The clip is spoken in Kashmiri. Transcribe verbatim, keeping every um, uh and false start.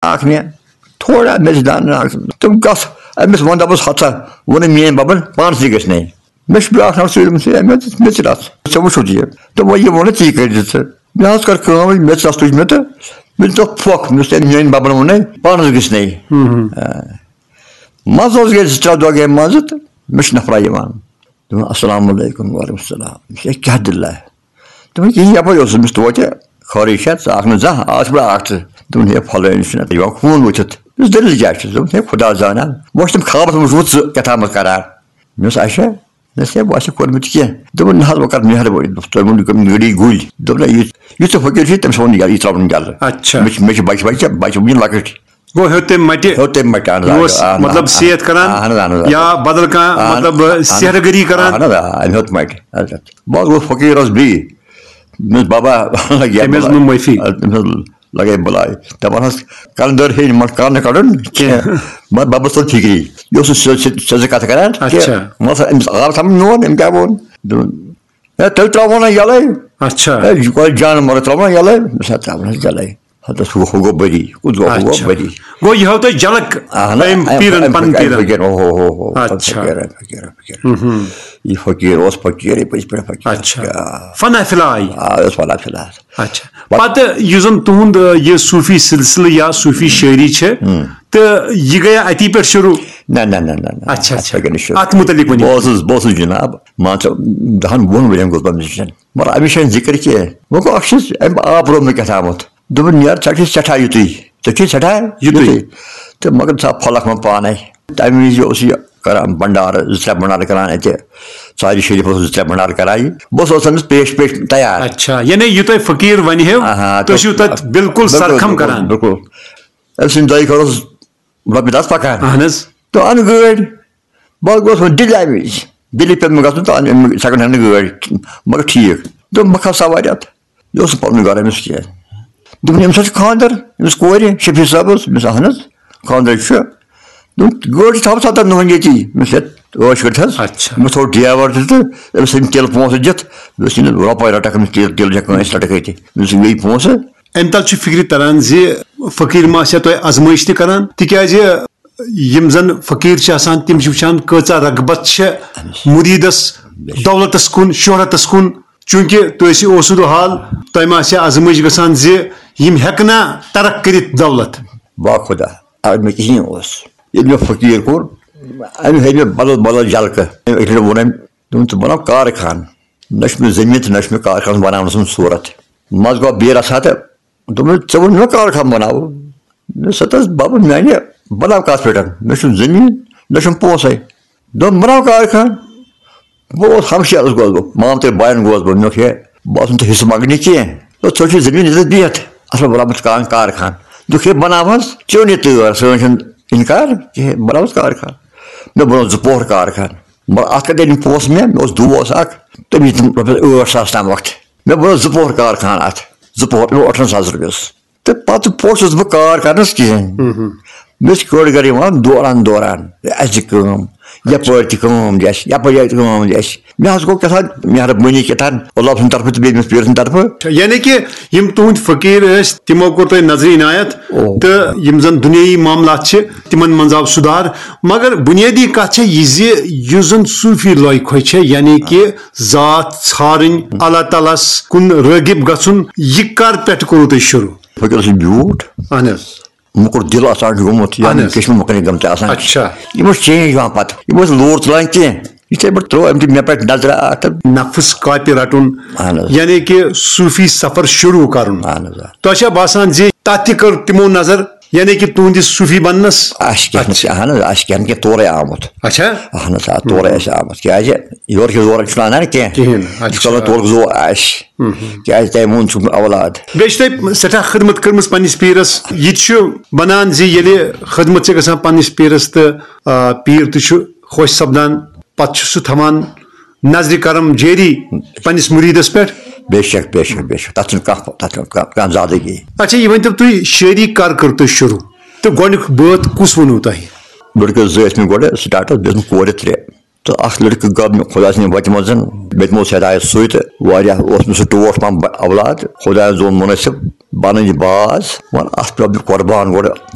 اکھ مےٚ تھوڑا میٚژِ دانہٕ اکھ۔ تِم کَتھ أمِس وَن دَپَس، "ہَتھ سا ووٚنُن میٛٲنۍ بَبَن، پانَس تہِ گژھِ نَے۔ مےٚ چھُ بیٛاکھ نفر سۭتۍ، دوٚپمَس، ہے، مےٚ دِژ میٚژِ رَژھ، ژےٚ وٕچھُتھ یہِ؟" دوٚپمَس، "یہِ ووٚنُے ژےٚ، یہِ کٔرۍ زِ ژٕ۔" مےٚ حظ کٔر کٲم، میٚژِ رَژھ تُج مےٚ تہٕ مےٚ دیُت اَتھ پھۄکھ، مےٚ دوٚپُس، "ہے، میٛٲنۍ بَبَن ووٚنُے، پانَس گژھِ نَے۔" ہُم، ہُم۔ آ۔ منٛزٕ حظ گٔے زٕ ترٛےٚ دۄہ گٔے منٛزٕ تہٕ مےٚ چھُ نفرا یِوان۔ دوٚپُن، "السلام علیکم۔" "وعلیکم السلام۔" دوٚپمَس، "ہے، کیٛاہ دٔلیٖلہ؟" دوٚپُن، "کِہیٖنۍ، یَپٲرۍ اوسُس بہٕ توتہِ خٲرٕے چھا، ژٕ آکھ نہٕ زانٛہہ، آز چھُ بڑٕ آکھ ژٕ۔" دوٚپُن، "ہے، فلٲنۍ چھُنہ یِوان خوٗن وٕچھِتھ۔" دوٚپُس، "دٔلیٖل کیٛاہ چھِ؟" دوٚپُن، "ہے، خۄدا زانان، وۄنۍ چھِ تِم خوابَس منٛز وٕچھمُت ژٕ کیٛاہ تامَتھ کران۔" مےٚ دوٚپُس، "اچھا؟" دوٚپُن، "ہے، بہٕ آسہِ کوٚرمُت کینٛہہ۔" دوٚپُن، "نہ حظ، وۄنۍ کر مہربٲنی۔" دوٚپُس، "تۄہہِ ووٚنُو کٔمۍ گٔڑی گُلۍ؟" دوٚپُن، "ہے، یُس، یُس ژےٚ فقیٖر چھُے، تٔمِس ووٚن یہِ، یہِ ترٛاوُن جلہٕ۔ اچھا۔ مےٚ چھِ، مےٚ چھِ بَچہِ، بَچہِ، بَچہِ وٕنہِ لۄکٕٹۍ۔" گوٚو ہیوٚت تٔمۍ مَٹہِ۔ ہیوٚت تٔمۍ مَٹہِ، اہن حظ، یہِ اوس، اہن حظ، مطلب، اہن حظ۔ صحت کران۔ اہن حظ، اہن حظ، اہن حظ۔ یا بدل کانٛہہ، اہن، مطلب، اہن، سحر گٔری کران۔ اہن حظ، آ، أمۍ ہیوٚت مَٹہِ۔ اچھا۔ بہٕ حظ گوٚوُس فقیٖرَس بیٚیہِ۔ مےٚ دوٚپُس، "بابا۔" یہِ تٔمۍ حظ بَلاے۔ نیوٗ معٲفی۔ تٔمۍ حظ لَگے بَلاے۔ دَپان حظ، "کَلہٕ دٲر ہیٚیہِ نہٕ مَٹہِ کَلہٕ نہٕ کَڑُن کینٛہہ۔" کینٛہہ۔ مگر بَبَس توٚر فِکری۔ یہِ اوس نہٕ سیوٚد، سیوٚد، سیوٚد کَتھ کران کینٛہہ۔ اچھا۔ مگر أمِس آو سَمجھ میون، أمۍ کیٛاہ ووٚن۔ دوٚپُن، "ہے، تیٚلہِ ترٛاوو نہ یَلَے۔" اچھا۔ "ہے، یہِ کۄس جان مگر ترٛاوو نہ یَلَے؟" مےٚ سا ترٛاوو نہ یَلَے۔ ہتس ہُہ، ہُہ گوٚو بٔری، کُس گوٚو، ہُہ گوٚو اچھا۔ بٔری۔ گوٚو یہِ ہٲو تۄہہِ جھلک اہن، أمۍ اَمہِ، پیٖرن، اَمہِ پنٕنۍ فقیٖر، پیٖرن۔ فقیٖر، ہو، ہو، ہو، ہو، اچھا۔ فقیٖر، فقیٖر، فقیٖر۔ ہُم، ہُم۔ یہِ فقیٖر اوس فقیٖر، یہِ پٔزۍ پٲٹھۍ فقیٖر۔ اچھا۔ آ۔ فنا فلاے۔ آ، اوس فنا فلاے۔ اچھا۔ پتہٕ یُس زن تُہُنٛد، آ، یہِ صوٗفی سلسلہٕ یا صوٗفی شٲعری چھِ، ہُم۔ تہٕ یہِ گٔیا اَتی پٮ۪ٹھ شروٗع؟ نہ، نہ، نہ، نہ، نہ۔ اچھا، اچھا۔ اَتھ کیٛاہ گٔے نہٕ شروٗع۔ اَتھ مُتعلِق ؤنِو۔ بہٕ اوسُس، بہٕ اوسُس جناب، مان ژٕ، دَہن وُہن ؤرین گوٚوُس بہٕ musician۔ مگر أمِس چھَنہٕ ذِکر کینٛہہ۔ وۄنۍ گوٚو اَکھ چیٖز، أمۍ آو برونٛہہ مےٚ کیٛاہ تامَتھ۔ دوٚپُن، "یارٕ، ژےٚ چھُے سٮ۪ٹھاہ یُتُے، ژےٚ چھُے سٮ۪ٹھاہ یُتُے۔" تہٕ مگر ژٕ ہا پھۄلکھ وۄنۍ پانَے۔ تَمہِ وِزِ اوس یہِ کران بنڈارٕ، زٕ ترٛےٚ بنڈارٕ کران اَتہِ۔ ژارِ شریٖفَس اوس زٕ ترٛےٚ بنڈارٕ کران یہِ۔ بہٕ اوسُس أمِس پیش پیش تیار۔ اچھا، یعنی یہِ تۄہہِ فقیٖر وَنہِ ہیو، آہا، تُہۍ چھِو تَتھ بِلکُل بِلکُل، سرخم بِلکُل، کران۔ بِلکُل۔ أمۍ سٕنٛدِ دۄیہِ خٲر اوس رۄپیہِ دَہ پَکان۔ اہن حظ۔ تہٕ اَن گٲڑۍ۔ بہٕ حظ گوس وۄنۍ دِلہِ اَمہِ وِزِ۔ دِلہِ پیوٚو مےٚ گژھُن تہٕ اَن أمۍ second hand گٲڑۍ، مگر ٹھیٖک۔ دوٚپُن، "بہٕ کھسہٕ سوارِ اَتھ۔" یہِ اوس نہٕ پَنُن گرٕ أمِس کینٛہہ۔ دوٚپُن، "أمِس حظ چھِ خانٛدر، أمِس کورِ، شفیع صٲبَس؟" مےٚ دوٚپُس، "اہن حظ، خانٛدر چھُ۔" دوٚپُن، "گٲڑۍ چھِ تھاوُن ستَن دۄہَن ییٚتی؟" مےٚ دوٚپُس، "ہے، عٲش کٔرِتھ حظ۔" اچھا۔ مےٚ تھوٚو driver تہِ تہٕ أمِس ژھٕنۍ تیٖلہٕ پونٛسہٕ دِتھ، مےٚ دوٚپُس، "یہِ نہٕ رۄپَے رَٹَکھ أمِس تیٖلہٕ، تیٖلہٕ چھےٚ کٲنٛسہِ رَٹَکھ ییٚتہِ؟" مےٚ دوٚپُس، "یہِ فِکرِ تران زِ فقیٖر ما آسہِ ہا تۄہہِ آزمٲیش تہِ کران، تِکیازِ یِم زن فقیٖر چھِ آسان، تِم چھِ وٕچھان کۭژاہ رغبت چھےٚ مُریٖدس دولتس کُن، شہرتس کُن۔ چوٗنٛکہِ تُہۍ ٲسِو اوسُد حال، تۄہہِ ما آسہِ ہا آزمٲیش گژھان زِ یِم ہٮ۪کنا ترک کٔرِتھ دولت؟" با خۄدا، اگر مےٚ کِہیٖنۍ اوس، ییٚلہِ مےٚ فقیٖر کوٚر، أمۍ ہٲوۍ مےٚ بدل بدل جلکہٕ۔ أمۍ أکۍ لٹہِ ووٚن أمۍ، دوٚپُن، "ژٕ بناو کارخان۔" نہ چھُ مےٚ زٔمیٖن تہٕ نہ چھُ مےٚ کارخانس بناونس منٛز صوٗرت۔ منٛزٕ گوٚو بیٖر رژھا تہٕ دوٚپُن، "ژےٚ ووٚن مےٚ کارخان بناو۔" مےٚ دوٚپُس، "ہتہٕ حظ بَبہٕ میٛانہِ، بناو کَتھ پٮ۪ٹھ؟ مےٚ چھُنہٕ زٔمیٖن، مےٚ چھُنہٕ پونٛسَے۔" دوٚپُن، "بناو کارخان۔" بہٕ اوسُس ہمشیرَس گوس بہٕ، مامتٕرۍ بایَن گوس بہٕ، مےٚ دوٚپُکھ، "ہے، بہٕ آسُن تہٕ حصہٕ منٛگنہِ کینٛہہ۔ دوٚپُس، ژےٚ چھُے زٔمیٖن ییٚتٮ۪تھ بِہِتھ، اَصٕل بناومُت کارخان۔" دوٚپُکھ، "ہے، بناو حظ، ژےٚ اوٚنُے تٲر، سٲنۍ چھَنہٕ اِنکار کِہیٖنۍ، بناو حظ کارخان۔" مےٚ بنوو زٕ پوہر کارخان۔ مگر اَتھ کَتہِ أنۍ پونٛسہٕ مےٚ؟ مےٚ اوس دوس اَکھ، تٔمۍ دِتِم رۄپیَس ٲٹھ ساس تام وقتہٕ۔ مےٚ بنوو زٕ پوہر کارخان اَتھ، زٕ پوہر، مےٚ اوٚٹھَن ساس رۄپیَس۔ تہٕ پَتہٕ پوٚژھُس بہٕ کار کَرنَس کِہیٖنۍ۔ مےٚ ٲسۍ کٔڑ گَرٕ یِوان دوران دوران، "ہے، اَسہِ دِ کٲم، یَپٲرۍ تہِ کٲم دِ اَسہِ، یَپٲرۍ تہِ کٲم دِ اَسہِ۔" مےٚ حظ گوٚو کیٛاہ تام مہربٲنی کیٛاہ تام، اللہ سٕنٛدِ طرفہٕ تہٕ بیٚیہِ أمِس پیٖرٕ سٕنٛدِ طرفہٕ۔ یعنی کہِ یِم تُہٕنٛدۍ فقیٖر ٲسۍ، تِمو کوٚر تۄہہِ نظرِ عنایت، او۔ تہٕ یِم زَن دُنیٲیی معاملات چھِ، تِمَن منٛز آو سُدھار۔ مگر بُنیٲدی کَتھ چھےٚ یہِ زِ یُس زَن صوٗفی لوے کھوے چھےٚ، یعنی کہِ ذات ژھارٕنۍ، اللہ تعالیٰ ہَس کُن رٲغِب گژھُن، یہِ کر پٮ۪ٹھ کوٚروٕ تۄہہِ شروٗع؟ فقیٖر اوس یہِ بیوٗٹھ۔ اہن حظ۔ موٚکُر دِل آسان چھُ گوٚمُت، یا اہن حظ۔ کشمہٕ مۄکلہِ گٔمٕتۍ آسان۔ اچھا۔ یِم ٲسۍ change یِوان پتہٕ، یِم ٲسۍ لوٗر تُلان کینٛہہ۔ یِتھَے پٲٹھۍ ترٛٲو أمۍ تہِ مےٚ پٮ۪ٹھ نظرہ اکھ تہٕ نفس کاپہِ رٹُن، اہن حظ۔ یعنی کہِ صوٗفی سفر شروٗع کرُن۔ اہن حظ، آ۔ تۄہہِ چھا باسان زِ تتھ تہِ کٔر تِمو نظر؟ یعنی کہِ تُہنٛدِس صوٗفی بننس؟ آسہِ کینٛہہ نہٕ، اچھا۔ اہن حظ، آسہِ کینٛہہ نہٕ کینٛہہ تورے آمُت۔ اچھا۔ اہن حظ، آ، تورے آسہِ آمُت۔ کیٛازِ یورٕ کہِ زورٕ چھُنہٕ اَنان کینٛہہ۔ کِہیٖنۍ نہٕ، اچھا۔ یُس کَلَس تورُک زور آسہِ۔ کیٛازِ تۄہہِ ووٚن چھُکھ نہٕ اولاد۔ بیٚیہِ چھِ تۄہہِ سٮ۪ٹھاہ خدمت کٔرمٕژ پنٛنِس پیٖرَس۔ یہِ تہِ چھُ بَنان زِ ییٚلہِ خدمت چھِ گژھان پنٛنِس پیٖرَس تہٕ، آ، پیٖر تہِ چھُ خۄش سَپدان، پَتہٕ چھُ سُہ تھاوان نظرِ کرم جٲری پنٛنِس مُریٖدَس پٮ۪ٹھ۔ بے شک، بے شک، بے شک۔ تَتھ چھُنہٕ کانٛہہ، تَتھ چھُنہٕ کانٛہہ، کانٛہہ زیادٕ کینٛہہ۔ اچھا، یہِ ؤنۍ تو تُہۍ، شٲعری کر کٔر تۄہہِ شروٗع؟ تہٕ گۄڈٕنیُک بٲتھ کُس ووٚنوٕ تۄہہِ؟ لٔڑکہٕ زٕ ٲسۍ مےٚ گۄڈٕ startَس، بیٚیہِ ٲسۍ مےٚ کورِ ترٛےٚ۔ تہٕ اَکھ لٔڑکہٕ گوٚو مےٚ خۄداے سٕنٛدِ وَتہِ منٛز، مےٚ تہِ موٗد ہدایت سُے، تہٕ واریاہ اوس مےٚ سُہ ٹوٹھ پَہَم بَ-، اولاد۔ خۄدایَن زون مُنٲسِب بَنٕنۍ یہِ باز، وَن اَتھ پٮ۪ٹھ دیُت قۄربان گۄڈٕ۔